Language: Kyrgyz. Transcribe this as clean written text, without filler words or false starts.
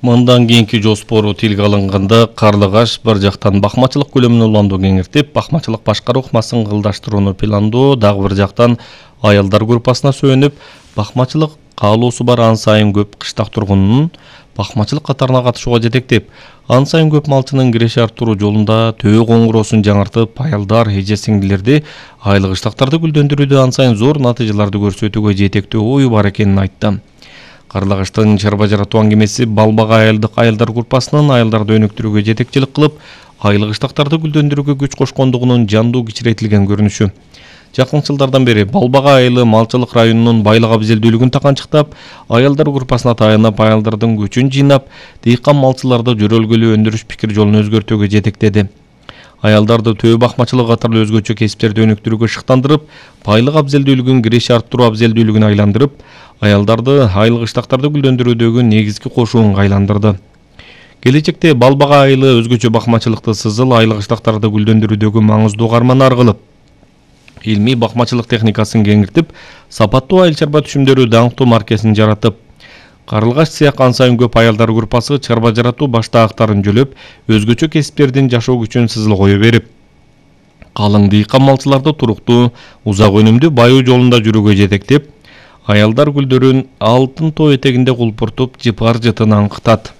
Мындан кийинки жоспору тилге алынганда Карлыгаш бір жактан бакмачылык көлөмүн уланду кеңиртип, бакмачылык башкаруу ыкмасын кылдаштырууну пландоо, дагы бір жактан аялдар группасына сөөнүп, бакмачылык каалоосу бар ан сайын көп кыштак тургунунун бакмачылык катарына катышууга жетектеп, ан сайын көп малчынын киреше арттыруу жолунда төбө коңгуроосун жаңыртып, аялдар, эже-сиңдилерди айлык ыштактарды гүлдөндүрүүдө ан сайын зор натыйжаларды көрсөтүүгө жетектөө ою бар экенин айтты. Карлыгаштын чарба жаратуу аңгемеси Балбага айылдык аялдар группасынын аялдарды өнүктүрүүгө жетекчилик кылып, айлык ыштактарды гүлдөндүрүүгө күч кошкондугунун жандуу кичирейтилген көрүнүшү. Жакын жылдардан бери Балбага айылы малчылык районунун байлык абзелдүүлүгүн таканчыктап, аялдар группасына таянып, аялдардын күчүн жыйнап, дыйкан малчыларды жөрөлгөлүү өндүрүш пикир жолун өзгөртүүгө жетектеди. Аялдарды төбө бакмачылык катарлуу өзгөчө кесиптерди өнүктүрүүгө шыктандырып, байлык абзелдүүлүгүн киреше арттыруу абзелдүүлүгүнө айландырып, аялдарды айлык ыштактарды гүлдөндүрүүдөгү негизги кошуунга айландырды. Келечекте Балбага айылы өзгөчө бакмачылыкты сызыл айлык ыштактарды гүлдөндүрүүдөгү маңыздуу карманар кылып, илмий бакмачылык техникасын кеңиртип, сапаттуу айыл чарба түшүмдөрү даңктуу маркесин жаратып, Карлыгаш цех ан сайын көп аялдар группасы чарба жаратуу баштаактарын жөлөп, өзгөчө кесиптердин жашоо күчүн сызыл кое берип, калың дыйкан малчыларды туруктуу, узак өнүмдүү байуу жолунда жүрүүгө жетектеп, аялдар гүлдөрүн алтын тоо этегинде кулпуртуп, жыпар жытын аңкытат.